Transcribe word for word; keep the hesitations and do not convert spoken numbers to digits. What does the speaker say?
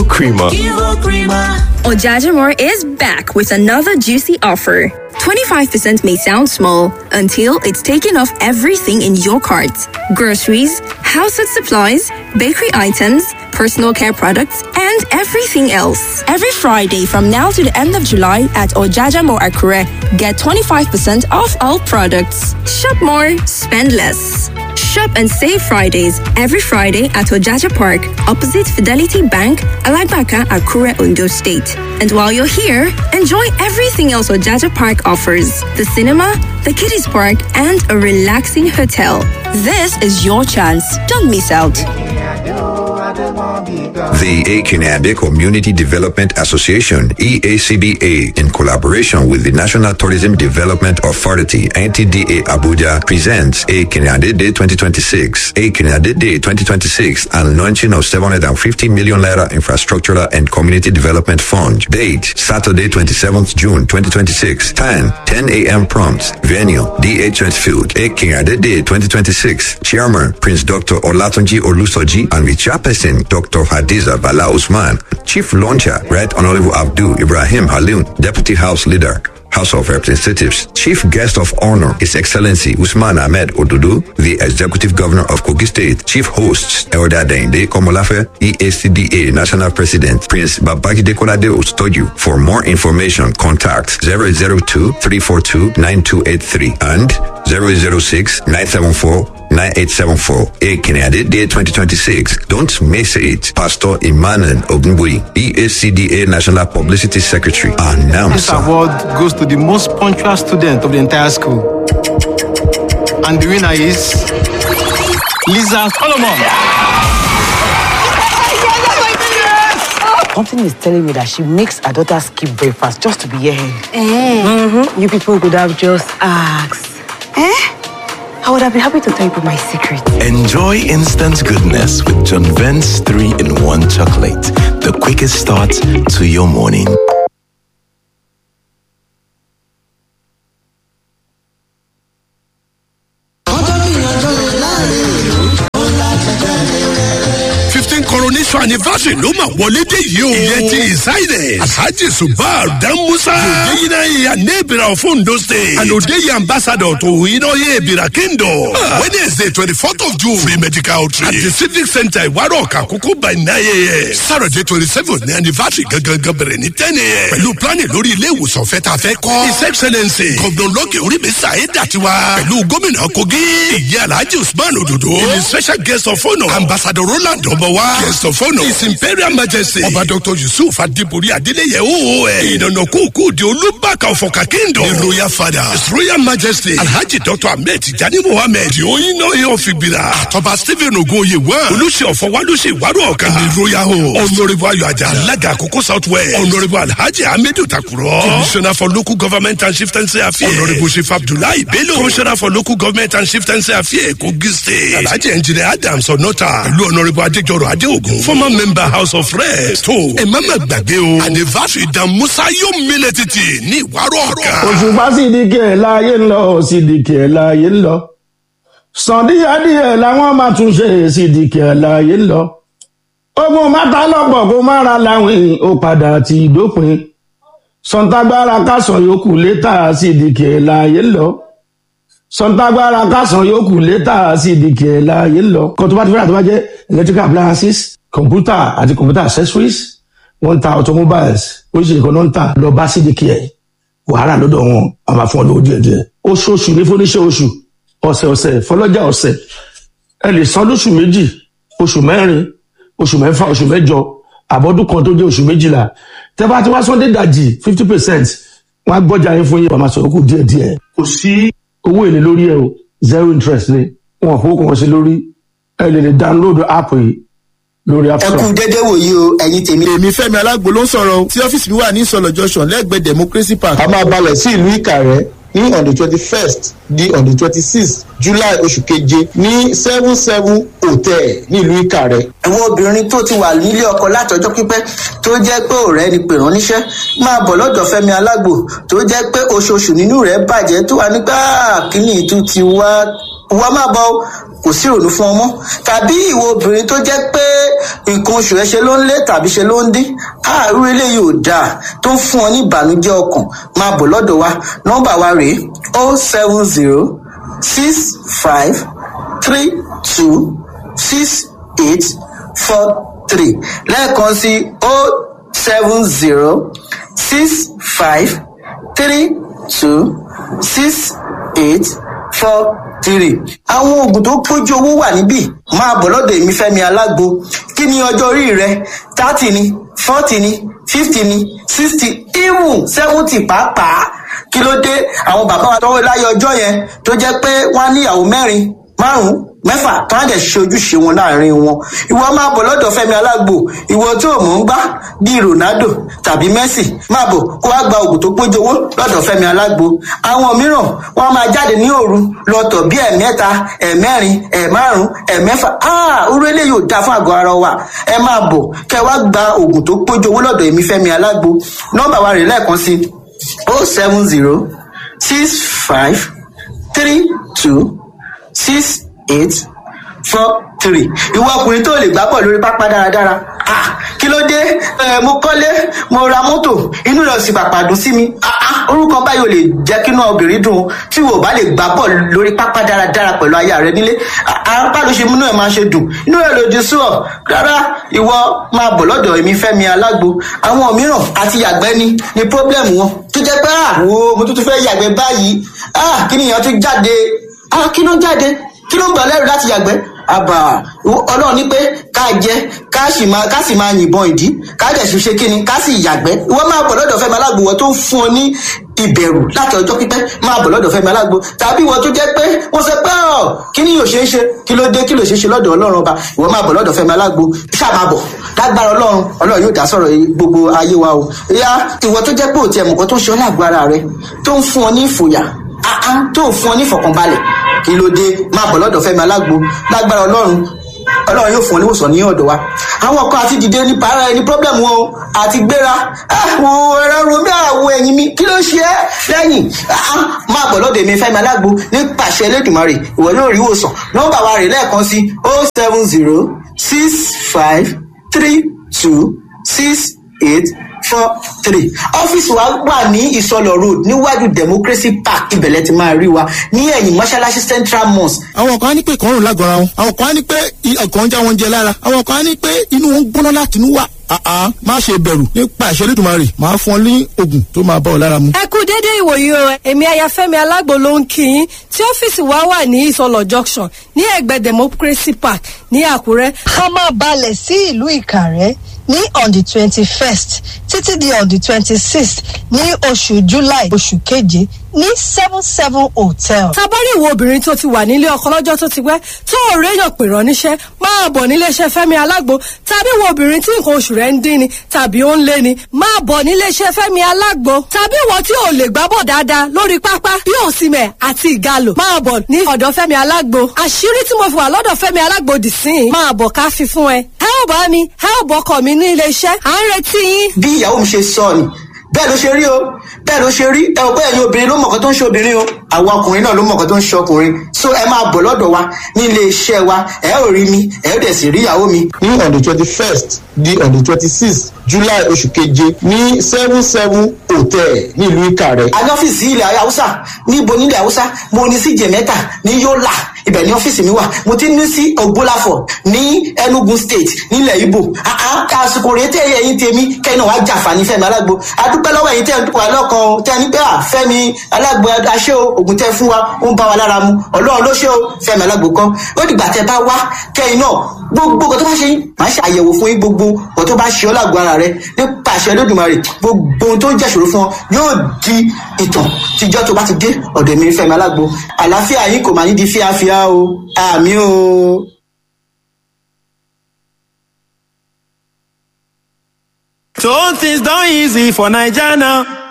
Creamer. Ojajamore is back with another juicy offer. twenty-five percent may sound small until it's taken off everything in your cart. Groceries, household supplies, bakery items, personal care products, and everything else. Every Friday from now to the end of July at Ojajamore Akure, get twenty-five percent off all products. Shop more, spend less. Shop and save Fridays every Friday at Ojaja Park, opposite Fidelity Bank, Alagbaka, Akure, Ondo State. And while you're here, enjoy everything else Ojaja Park offers: the cinema, the kiddies park, and a relaxing hotel. This is your chance. Don't miss out. The Akinade Community Development Association, E A C B A, in collaboration with the National Tourism Development Authority, N T D A Abuja, presents Akinade Day twenty twenty-six, Akinade Day twenty twenty-six, and launching of seven hundred fifty million naira Infrastructural and Community Development Fund. Date, Saturday, twenty-seventh June twenty twenty-six. Time, ten a m prompt. Venue, D H S Field. Akinade Day twenty twenty-six. Chairman, Prince Doctor Olatunji Olusoji, and with chairperson, Doctor Hadiza Bala Usman. Chief Launcher, Right Honorable Abdul Ibrahim Halil, Deputy House Leader, House of Representatives. Chief Guest of Honor, His Excellency Usman Ahmed Odudu, the Executive Governor of Kogi State. Chief Hosts, Elder Dende Komolafe, E A C D A National President, Prince Babajide Kolade Ostoju. For more information, contact zero zero two, three four two, nine two eight three and zero zero six, nine seven four, nine eight seven four. Akinade Day twenty twenty-six. Don't miss it. Pastor Emmanuel Ogunbuyi, E A C D A National Publicity Secretary. Announcer. This award goes to the most punctual student of the entire school. And the winner is Lisa Solomon. Something is telling me that she makes her daughter skip breakfast just to be here. Eh. Mm-hmm. You people could have just asked. Eh? I would have been happy to tell you my secret. Enjoy instant goodness with John Vent's three in one chocolate. The quickest start to your morning. fifteen coronation anniversary ló máa wọlé dé yìí o. ìyẹn ti ìsáyẹ̀. Alhaji Subar Dan Musa. Òdeyinna Anebira of Ondo State. And Odeyi ambassador to Inoye Ebira Kingdom. Wednesday twenty fourth of June. Free medical outreach. At the Civic Center Iwaro Kakoko by nine a m. Saturday twenty seven ní anniversary gangan bẹ̀rẹ̀ ní ten a m. Pẹ̀lú planning lórí ilé ìwòsàn fẹ́ ta fẹ́ kọ́. His Excellency Governor Lọ́kì Orímísà Ayédàtiwa. Pẹ̀lú gómìnà Kogi. Ìyá Alhaji Usman Ododo. Ìní special guest of honour. Ambassador Roland Ọmọwá. Guest of honour. His Imperial Majesty. Ọba Doctor Yusuf Adibori Adeleye O O N. Ìdànà kúkú di Olúbàkà ọ̀fọ̀kà Kingdom. The Royal Father. His Royal Majesty. Alhaji Doctor Ahmed Tijani Mohammed. The Oyinna Ofigbira. Àtọ́ba Stephen Ogoye one. Olùṣe ọ̀fọ̀wálùṣe ìwárò ọ̀kan. The Royal Host. Honourable Ayọ̀ Ajá. Alága Àkókò South West. Honourable Alhaji Ahmedu Takuro. Commissioner for Local Government and Chieftaincy Affairs. Honourable Chief Abdullahi Bello. Commissioner for Local Government and Chieftaincy Affairs Kogi State. Alhaji Engineer Adams Onota. Pẹ̀lú Honourable Adéjọrò Adéògùn. Former member House of Reps. Tó ẹ má má gbàgbé o. Anniversary Dan Musa yóò mílẹ̀ títì ní ìwárọ̀ ọ̀kan. Òṣùpá sídìkì ẹ̀ láàyè ń lọ sídìkì ẹ̀ láàyè ń lọ sàndíyàdíyẹ làwọn máa tún ṣe sídìkì ẹ̀ láàyè ń lọ ogun mátà lọ́pọ̀ kó má ra láwìn ó padà ti dópin sọ̀ǹtàgbára kásán yòókù létà sídìkì ẹ̀ láàyè ń lọ sọ̀ǹtàgbára kásán yòókù létà sídìkì ẹ̀ láàyè ń lọ. Kan tó bá ti fẹ́ràn tó bá jẹ́ electrical appliances, computer àti computer accessories, wọ́n ń ta automobiles, oríṣiríṣi kan náà ń tà. Lọ bá sídìkì ẹ̀, wàhálà lọ́dọ̀ wọn a máa fún ọ lówó díẹ̀ díẹ̀. Oṣooṣù ní fúnníṣẹ́ oṣù, ọ̀sẹ̀ ọ̀sẹ̀ fọlọ́jà ọ̀sẹ̀. Ẹ lè san lóṣù méjì, oṣù mẹ́rin, oṣù mẹ́fà, oṣù mẹ́jọ, àbọ̀dún kan tó jẹ́ oṣù méjìlá. Tẹ́ bá ti wá sọ́ndé dàjì fifty percent, wọ́n á gbọ́jà yín fún yín, wọ́n máa sọ̀rọ̀ kù díẹ̀ díẹ̀. Kò sí owó èlé lórí ẹ o, zero interest ni, wọn ò fowó kan sí lórí. Ẹ lè lè download app yìí lórí App Ẹ Store. kú dédé wòyí o, ẹ̀yin tèmi. Èmi Fẹ́mi Alágbo ló ń sọ̀rọ̀ o, tí ọ́fíìsì mi wà ní Ìsọ̀lọ̀ Junction lẹ́gbẹ̀ẹ́ Democracy Park. A máa balẹ̀ sí ìlú Ìkàrẹ́ ní on the twenty first di on the twenty sixth July oṣù keje ní seven seven hotel ní ìlú Ìkàrẹ́. Àwọn obìnrin tó ti wà nílé ọkọ látọjọ́ pípẹ́ tó jẹ́ pé ọ̀rẹ́ ni pè rán níṣẹ́ máa bọ̀ lọ́dọ̀ Fẹ́mi Alágbo, tó jẹ́ pé oṣooṣù nínú rẹ̀ bàjẹ́ tó wà nígbà kíní ìtú ti wá wá máa bọ̀ o, Kò sí ìrònú fún ọmọ. Tàbí ìwọ obìnrin tó jẹ́ pé nǹkan oṣù rẹ ṣe ló ń lé tàbí ṣe ló ń dín, àárú eléyìí ò dáa tó ń fún ọ ní ìbànújẹ́ ọkàn, máa bọ̀ lọ́dọ̀ wa. Nọ́mbà wa rèé: o seven zero six five three two six eight four three. Lẹ́ẹ̀kan sí: o seven zero six five three two six eight four three. Àwọn oògùn tó pójú owó wà níbí. Máa bọ̀ lọ́dọ̀ èmi Fẹ́mi Alágbo. Kí ni ọjọ́ orí rẹ? Thirty ni, forty ni, fifty ni, sixty, even seventy pàápàá. Kí ló dé? Àwọn bàbá wa tọwọ́ láyé ọjọ́ yẹn tó jẹ́ pé wọ́n á níyàwó mẹ́rin, márùn-ún, mẹ́fà, tó á dẹ̀ ṣe ojúṣe wọn láàrin wọn. Ìwọ máa bọ̀ lọ́dọ̀ Fẹ́mi Alágbo. Ìwọ tó mọ̀ ń gbá bíi Ronaldo tàbí Messi, máa bọ̀ kó wá gba oògùn tó pójú owó lọ́dọ̀ Fẹ́mi Alágbo. Àwọn mìíràn wọ́n á máa jáde ní òru lọ́tọ̀ bí ẹ̀mẹ́ta, ẹ̀mẹ́rin, ẹ̀márùn, ẹ̀mẹ́fà. Orú eléyìí ò dáa fún àgọ́ ara wa. Ẹ máa bọ̀ kẹ́ wá gba oògùn tó pójú owó lọ́dọ̀ èmi Fẹ́mi Alágbo. Nọ́mbà wa rè lẹ́ẹ̀kan sí: o seven zero six five three two six eight four three. Ìwọ ọkùnrin tó lè gbá bọ̀ lórí pápá dáradára, ah, kí ló dé? Ẹ mo kọ́lé, mo ra mọ́tò, inú rẹ̀ sì pàpà dùn sí mi. Ah ah, orúkọ báyìí ò lè jẹ́ kí inú obìnrin dùn. Tí wò bá lè gbá bọ̀ lórí pápá dáradára pẹ̀lú aya rẹ nílé, apá ló ṣe múnú ẹ̀ máa ṣe dùn, inú rẹ̀ lòdì sí ọ rárá. Ìwọ máa bọ̀ lọ́dọ̀ èmi Fẹ́mi Alágbo. Àwọn mìíràn àti yàgbẹ́ ni ni problem wọn, tó jẹ́ pé ah, wo, mo tún tún fẹ́ yàgbẹ́ báyìí, ah, kí nìyẹn tún jáde? Ah, kí ló ń jáde? Kí ló ń gbà lẹ́rù láti yàgbẹ́? Àbà ọlọ́run ní pé ká jẹ, ká sì máa, ká sì máa yìnbọn ìdí, ká dẹ̀ sì ṣe kíni, ká sì yàgbẹ́. Ìwọ máa bọ̀ lọ́dọ̀ Fẹ́mi Alágbo. Wọ́n tó ń fún ọ ní ìbẹ̀rù láti ọjọ́ pípẹ́, máa bọ̀ lọ́dọ̀ Fẹ́mi Alágbo. Tàbí ìwọ tó jẹ́ pé wọ́n sọ pé ọ̀ kí ni yóò ṣe é ṣe, kí ló dé? Kí ló ṣe é ṣe lọ́dọ̀ ọlọ́run ọba? Ìwọ máa bọ̀ lọ́dọ̀ Fẹ́mi Alágbo. Ṣáà máa bọ̀ lágbára ọlọ́run. Ọlọ́run yóò dá sọ̀rọ̀ gbogbo ayé wa o. Ìyá, ìwọ tó jẹ́ pé òtí ẹ̀mùkọ́ tó ń ṣe ọ́ lágbo ara rẹ, tó ń fún ọ ní ìfòyà, tó ń fún ọ ní ìfọ̀kànbalẹ̀, kí ló dé? Máa bọ̀ lọ́dọ̀ Fẹ́mi Alágbo. Lágbára ọlọ́run, ọlọ́run yóò fún ọ níwòsàn ní ọ̀dọ̀ wa. Àwọn kan àti dìde ní para ẹni problem wọn o, àti gbéra àwọn ẹ̀rọ romi, àwọ̀ ẹ̀yìn mi, kí ló ṣe é lẹ́yìn? Máa bọ̀ lọ́dọ̀ èmi Fẹ́mi Alágbo. Nípasẹ̀ Elédùmarè, ìwọ yóò rí ìwòsàn. Nọ́mbà wa rè lẹ́ẹ̀kan sí: o seven zero six five three two six eight four three. Ọ́fíìsì wa wà ní Ìsọlọ̀ Road, níwájú Democracy Park. Ibẹ̀lẹ̀ ti máa rí wa ní ẹ̀yìn mọ́ṣáláṣí Central Mosque. Àwọn kan á ní pé ìkọrùn lágọ̀ọ́ra wọn, àwọn kan á ní pé ọkàn ń já wọn jẹ lára, àwọn kan á ní pé inú wọn ń gbóná láti inú wà. Àá, má ṣe bẹ̀rù. Nípa ìṣẹ́ Olódùmarè, máa fún ọ ní oògùn tó máa bá ọ lára mu. Ẹ kú déédéé ìwòyí o. Èmi Ayafẹ́mi Alágbo ló ń kí yín tí ọ́fíìsì wa wà ní Ìsọlọ̀ Junction, ní ẹ̀gbẹ́ Democracy Park ní Àkúrẹ́. A máa balẹ̀ sí ìlú Ìkàrẹ́ ní on the twenty first títí di on the twenty sixth ní oṣù July, oṣù keje, ní seven seven hotel. Tabari ìwọ obìnrin tó ti wà nílé ọkọ lọ́jọ́ tó ti pẹ́, tó ò réyàn pè rán níṣẹ́, máa bọ̀ níléeṣẹ́ Fẹ́mi Alágbo. Tàbí ìwọ obìnrin tí nǹkan oṣù rẹ̀ ń dín ni tàbí ó ń lé ni, máa bọ̀ níléeṣẹ́ Fẹ́mi Alágbo. Tàbí ìwọ tí ò lè gbábọ̀ dáadáa lórí pápá bí Òsìmẹ̀ àti Ìgalò, máa bọ̀ ní ọ̀dọ̀ Fẹ́mi Alágbo. Àṣírí tí mo fi wà lọ́dọ̀ Fẹ́mi Alágbo dì sí i, máa bọ̀ ká fi fún ẹ. Ẹ ò bá mi, ẹ ò bọ́kọ̀ mi ní iléeṣẹ́, à ń retí yín. Bí ìyàwó mi ṣe sọ ni, bẹ́ẹ̀ ló ṣe rí o, bẹ́ẹ̀ ló ṣe rí. Ẹ ò pé ẹ̀yin obìnrin ló mọ̀kàn tó ń ṣe obìnrin o, àwọn ọkùnrin náà ló mọ̀kàn tó ń ṣe ọkùnrin. So ẹ máa bọ̀ lọ́dọ̀ wa ní ilé iṣẹ́ wa. Ẹ ò rí mi, ẹ ò dẹ̀ sì rí ìyàwó mi. Ní on the twenty first di on the twenty sixth July, oṣù keje, ní seven seven hotel ní ìlú Ìkàrẹ́. A ní ọ́fíìsì ilẹ̀ Haúsá. Níbo nílẹ̀ Haúsá? Mo ní sí Jẹ̀mẹ́ta ní Yólà, ibẹ̀ ní ọ́fíìsì mi wà. Mo ti ní sí Ògbólàfọ̀ ní Enugu State nílẹ̀ Ibo. Àsìkò rèé tẹ́ ẹ̀yin tèmi kẹ́yìn náà wàá jàǹfààní Fẹ́mi Alágbo. Adúpẹ́ lọ́wọ́ ẹ̀yin tẹ́ ẹ̀ wà lọ́kàn o, tẹ́ ẹ ní pé à Fẹ́mi Alágbo aṣẹ́ o, ògùn tẹ́ fún wa ó ń bá wa lára mu. Ọlọ́run ló ṣe o, Fẹ́mi Alágbo kọ́. Ó dìgbà tẹ́ bá wá kẹ́yìn náà, gbogbo nǹkan tó bá ṣe yín, màá ṣe àyẹ̀wò fún yín. Gbogbo nǹkan tó bá ṣe ọ́ lágbo ara rẹ, nípa àṣẹ Olódùmarè, gbogbo ohun tó ń jẹ́ ìṣòro fún ọ yóò di ìtàn tíjọ́ tó bá ti dé ọ̀dọ̀ mi Fẹ́mi Alágbo. Àlàáfíà yín kò máa ní di fíafíà o. Àmín o. So things done easy for Naija now.